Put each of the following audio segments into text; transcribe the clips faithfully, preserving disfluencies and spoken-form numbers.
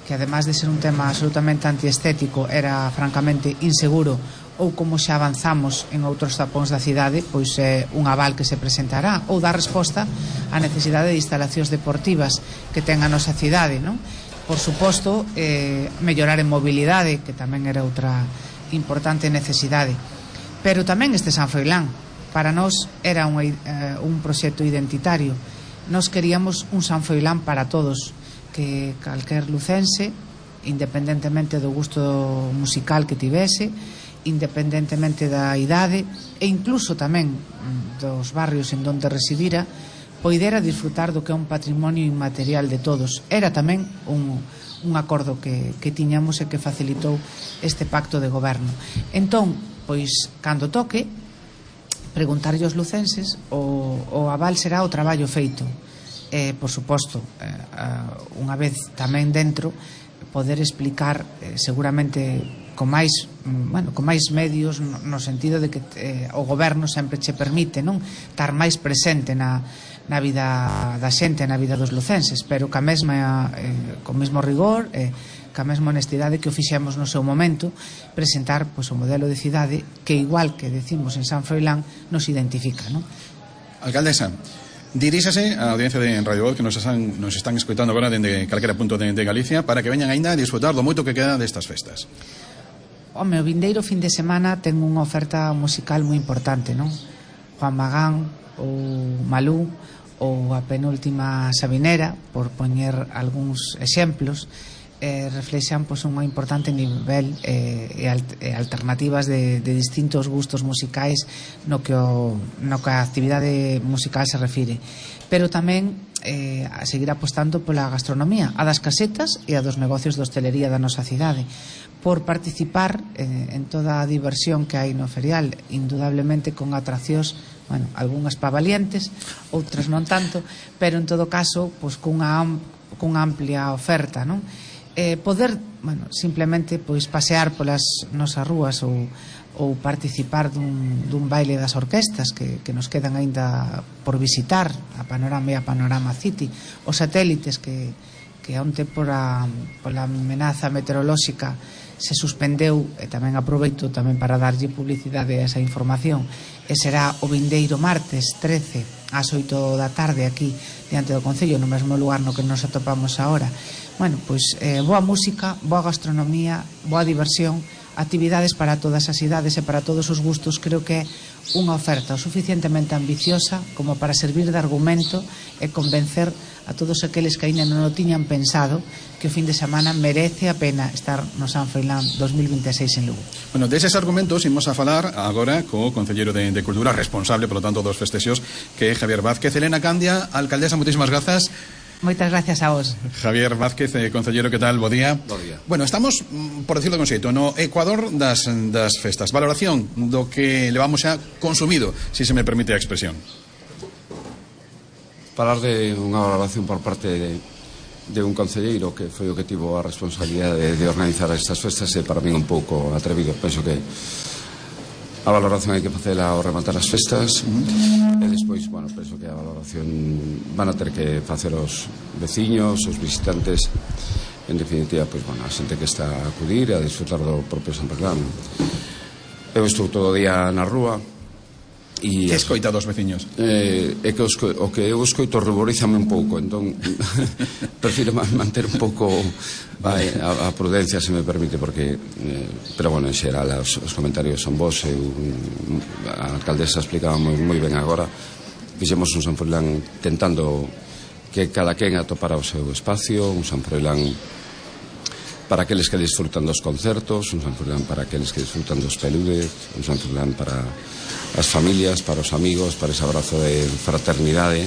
que además de ser un tema absolutamente antiestético era francamente inseguro, ou como xa avanzamos en outros tapóns da cidade, pois é un aval que se presentará, ou dar resposta á necesidade de instalacións deportivas que ten a nosa cidade, non? Por suposto, eh, mellorar en mobilidade, que tamén era outra importante necesidade, pero tamén este San Froilán para nós era un, eh, un proxecto identitario. Nós queríamos un San Froilán para todos, que calquer lucense, independentemente do gusto musical que tivese, independentemente da idade e incluso tamén dos barrios en donde residira, poidera disfrutar do que é un patrimonio inmaterial de todos. Era tamén un, un acordo que, que tiñamos e que facilitou este pacto de goberno. Entón, pois, cando toque preguntarlle aos lucenses, o, o aval será o traballo feito. Eh, por suposto, eh, uh, unha vez tamén dentro, poder explicar eh, seguramente con máis, bueno, con máis medios, no, no sentido de que eh, o goberno sempre che permite, non, estar máis presente na, na vida da xente, na vida dos lucenses, pero ca mesma eh, con mesmo rigor, eh, ca mesma honestidade que o fixemos no seu momento, presentar pois, o modelo de cidade que, igual que decimos en San Froilán, nos identifica, non? Alcaldesa, diríxase á audiencia de Radio Voz que nos están, nos están escoitando agora dende calquera punto de, de Galicia para que veñan aínda a disfrutar do moito que queda destas festas. Home, o vindeiro fin de semana ten unha oferta musical moi importante, non? Juan Magán ou Malú ou a penúltima Sabinera, por poñer algúns exemplos, eh, reflexan pois, un importante nivel eh, e, alt e alternativas de, de distintos gustos musicais no que, o, no que a actividade musical se refire, pero tamén eh, a seguir apostando pola gastronomía, a das casetas e a dos negocios de hostelería da nosa cidade, por participar eh, en toda a diversión que hai no ferial, indudablemente con atraccións, bueno, algunhas pavalientes, outras non tanto, pero en todo caso pois, cunha, cunha amplia oferta, non? Eh, poder, bueno, simplemente pois pasear polas nosas rúas ou, ou participar dun, dun baile das orquestas que, que nos quedan aínda por visitar, a Panorama e a Panorama City, os satélites que, que onte por a, pola amenaza meteorolóxica se suspendeu, e tamén aproveito tamén para darlle publicidade a esa información, e será o vindeiro martes trece ás oito da tarde aquí diante do Concello, no mesmo lugar no que nos atopamos agora. Bueno, pois eh, boa música, boa gastronomía, boa diversión, actividades para todas as idades e para todos os gustos. Creo que é unha oferta o suficientemente ambiciosa como para servir de argumento e convencer a todos aqueles que ainda non o tiñan pensado que o fin de semana merece a pena estar no San Froilán dos mil vinte e seis en Lugo. Bueno, deses argumentos imos a falar agora co concelleiro de, de Cultura, responsable, por lo tanto, dos festexos, que é Javier Vázquez. Elena Candia, alcaldesa, moitísimas grazas. Moitas gracias a vos. Javier Vázquez, eh, concellero, que tal? Bo día. Bo día. Bueno, estamos, por decirlo con xeito, no Ecuador das, das festas. Valoración do que levamos xa consumido, si se me permite a expresión. Falar de unha valoración por parte de, de un concelleiro que foi o que tivo a responsabilidade de, de organizar estas festas é para min un pouco atrevido. Penso que a valoración hai que facela ao rematar as festas e despois, bueno, penso que a valoración van a ter que facer os veciños, os visitantes, en definitiva, pois, bueno, a xente que está a acudir e a disfrutar do propio San Froilán. Eu estou todo o día na rúa e que escoita dos veciños? Eh, é que os, o que eu escoito ruborízame un pouco, entón prefiro manter un pouco a, a, a prudencia, se me permite, porque eh, pero bueno, en xeral os, os comentarios son vos. Eu, a alcaldesa explicaba moi, moi ben agora. Fixemos un San Froilán tentando que cada quen atopara o seu espacio, un San Froilán para aqueles que disfrutan dos concertos, un San Froilán para aqueles que disfrutan dos peludes, un San Froilán para as familias, para os amigos, para ese abrazo de fraternidade,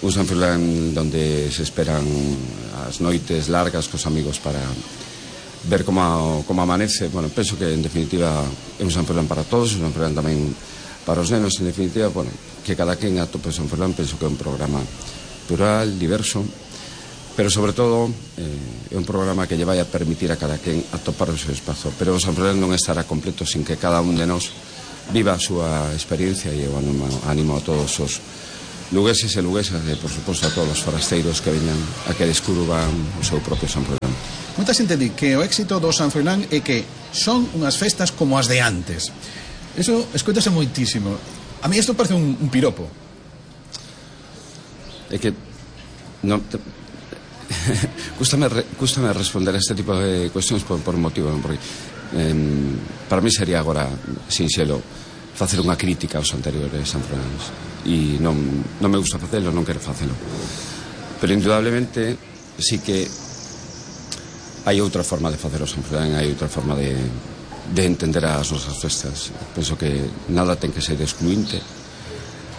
un San Froilán donde se esperan as noites largas cos amigos para ver como, como amanece. Bueno, penso que en definitiva é un San Froilán para todos, un San Froilán tamén para os nenos. En definitiva, bueno, que cada quen atope San Froilán, penso que é un programa plural, diverso, pero sobre todo eh, é un programa que lle vai a permitir a cada quen atopar o seu espazo. Pero o San Froilán non estará completo sin que cada un de nós viva a súa experiencia, e eu animo, animo a todos os lugueses e luguesas e, por suposto, a todos os forasteiros que veñan a que descubran o seu propio San Froilán. Moita xente di que o éxito do San Froilán é que son unhas festas como as de antes. Eso escoitase moitísimo. A mí isto parece un, un piropo. É que non te... cústame, re... cústame responder a este tipo de cuestións por, por motivo, non? Porque eh, para mí sería agora sinxelo facer unha crítica aos anteriores San Froiláns e non, non me gusta facelo, non quero facelo, pero indudablemente sí que hai outra forma de facer o San Froilán, hai outra forma de, de entender as nosas festas. Penso que nada ten que ser excluinte,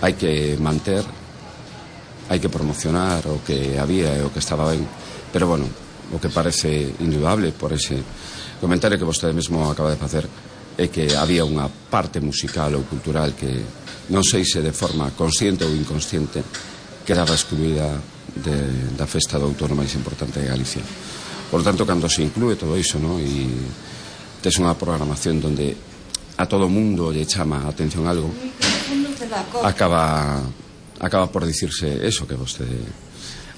hai que manter, hai que promocionar o que había e o que estaba ben, pero bueno, o que parece indudable por ese comentario que vostede mesmo acaba de facer é que había unha parte musical ou cultural que non sei se de forma consciente ou inconsciente quedaba excluída de, da festa do outono máis importante de Galicia. Por tanto, cando se inclúe todo iso, ¿no? E tes unha programación donde a todo mundo lle chama a atención algo, acaba acaba por dicirse eso que vostede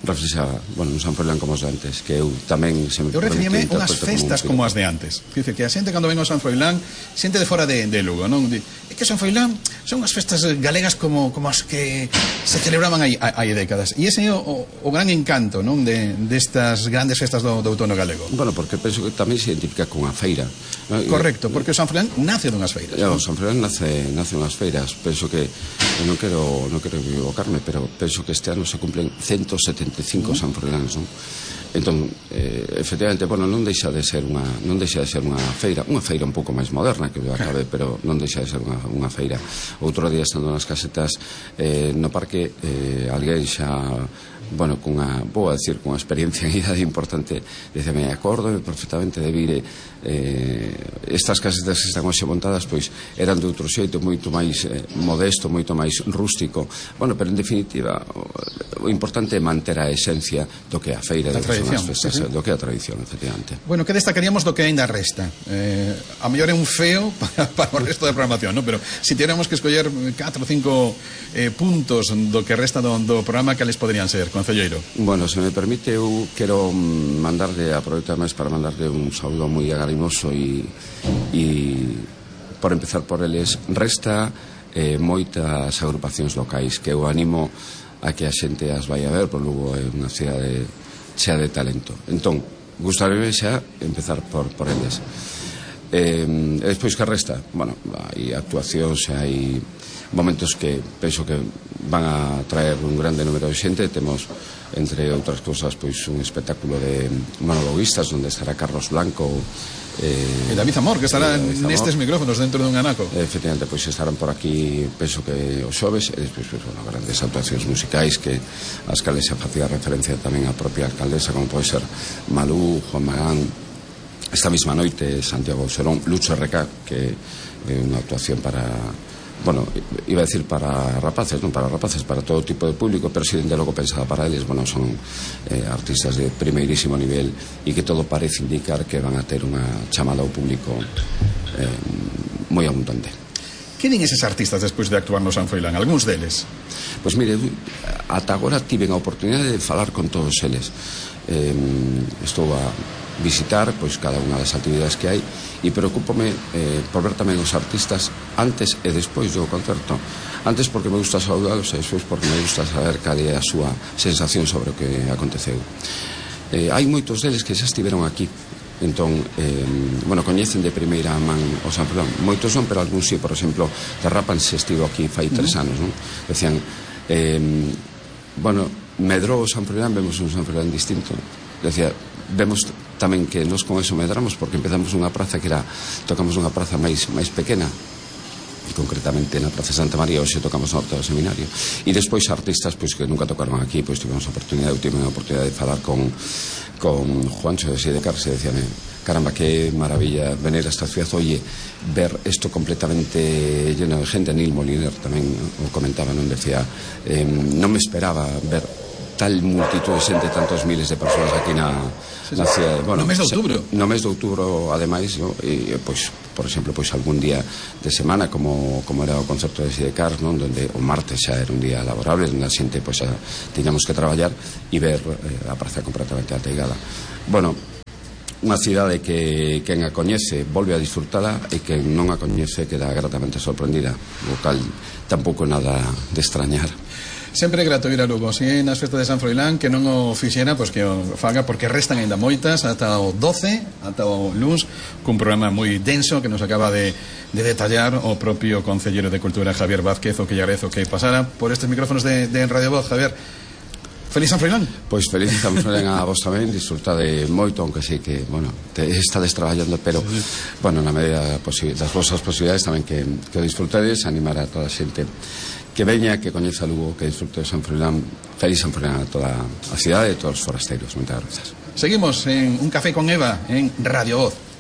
reflexaba, bueno, un San Froilán como os de antes, que eu tamén se me eu referíame unhas festas como, como as de antes. Dice que a xente cando ven ao San Froilán, xente de fora de, de Lugo, non? É que San Froilán son unhas festas galegas como, como as que se celebraban hai, hai décadas. E ese é o, o, o gran encanto, non? De, destas grandes festas do, do outono galego. Bueno, porque penso que tamén se identifica con a feira, ¿no? Correcto, porque o San Froilán nace dunhas feiras, ¿no? O San Froilán nace, nace unhas feiras. Penso que, non quero, non quero equivocarme, pero penso que este ano se cumplen ciento setenta e cinco uh -huh. San Froilán, non? Entón, eh, efectivamente, bueno, non deixa de ser unha non deixa de ser unha feira, unha feira un pouco máis moderna que o acabe, pero non deixa de ser unha, unha feira. Outro día estando nas casetas eh, no parque, eh, alguén xa, bueno, cunha, vou a decir, cunha experiencia en idade importante, diceme, acordo perfectamente de vir eh, estas casetas que están hoxe montadas, pois eran de outro xeito, moito máis eh, modesto, moito máis rústico. Bueno, pero en definitiva o, o importante é manter a esencia do que a feira, do que son as festas, sí, sí. do que a tradición, efectivamente. Bueno, que destacaríamos do que ainda resta? Eh, a mellor é un feo para, para o resto da programación, ¿no? Pero se si tiéramos que escoller catro ou cinco eh, puntos do que resta do, do programa, cales poderían ser, concelleiro? Bueno, se me permite, eu quero mandarle, aproveitar máis para mandarle un saúdo moi agarimoso e, e por empezar por eles, resta eh, moitas agrupacións locais que eu animo a que a xente as vai a ver, por Lugo é unha cidade chea de talento. Entón, gustaríame xa empezar por, por eles. Eh, e despois que resta? Bueno, hai actuacións, hai momentos que penso que van a traer un grande número de xente. Temos, entre outras cousas, pois un espectáculo de monologuistas onde estará Carlos Blanco eh, e David Amor, que estará nestes micrófonos dentro dun anaco. Efectivamente, pois estarán por aquí, penso que os xoves, e despois, pois, bueno, grandes actuacións musicais que as cales se facía referencia tamén a propia alcaldesa, como pode ser Malú, Juan Magán. Esta mesma noite Santiago Serón, Lucho R K, que é unha actuación para, bueno, iba a decir para rapaces, non para rapaces, para todo tipo de público, pero si de logo pensada para eles, bueno, son eh, artistas de primeirísimo nivel e que todo parece indicar que van a ter unha chamada ao público eh, moi abundante. Que din eses artistas despois de actuar no San Froilán? Algúns deles? Pois mire, ata agora tiven a oportunidade de falar con todos eles. Eh, estou a visitar pois cada unha das actividades que hai e preocúpome eh, por ver tamén os artistas antes e despois do concerto. Antes porque me gusta saudalos e despois porque me gusta saber cal é a súa sensación sobre o que aconteceu. Eh, hai moitos deles que xa estiveron aquí, entón, eh, bueno, coñecen de primeira man o San Froilán. Moitos non, pero algúns sí. Por exemplo, Terrapan se estivo aquí fai tres anos, non? Decían, eh, bueno, medrou o San Froilán, vemos un San Froilán distinto. Decía, vemos tamén que nos con eso medramos porque empezamos unha praza que era, tocamos unha praza máis máis pequena, e concretamente na Praza Santa María, hoxe tocamos no Horto do Seminario, e despois artistas pois que nunca tocaron aquí, pois tivemos a oportunidade, eu tive a oportunidade de falar con con Juancho de Sidecar, se decíame, caramba, que maravilla venir a esta ciudad, oye, ver esto completamente lleno de gente. Neil Moliner tamén o comentaba, non decía, eh, non me esperaba ver tal multitud de xente, tantos miles de persoas aquí na, na cidade. Bueno, no mes de outubro. No mes de outubro, ademais, no? E, pois, por exemplo, pois algún día de semana, como, como era o concerto de Sidecar, non? Donde o martes xa era un día laborable, onde a xente pois, xa tiñamos que traballar e ver eh, a praza completamente ateigada. Bueno, unha cidade que quen a coñece volve a disfrutala e quen non a coñece queda gratamente sorprendida, o cal tampouco nada de extrañar. Sempre é grato ir a Lugo, si nas festas de San Froilán, que non o fixera, pois que o faga, porque restan ainda moitas ata o doce, ata o luns, cun programa moi denso que nos acaba de, de detallar o propio Concelleiro de Cultura Javier Vázquez, o que lle agradezo que pasara por estes micrófonos de, de Radio Voz. Javier, feliz San Froilán. Pois feliz San Froilán a vos tamén, disfrutade moito, aunque sei que, bueno, te estades traballando, pero, sí, bueno, na medida das vosas posibilidades tamén que, que o disfrutedes, animar a toda a xente que veña, que coñeza Lugo, que disfrute de San Froilán. Feliz San Froilán a toda a cidade e a todos os forasteiros. Moitas grazas. Seguimos en Un Café con Eva en Radio Voz.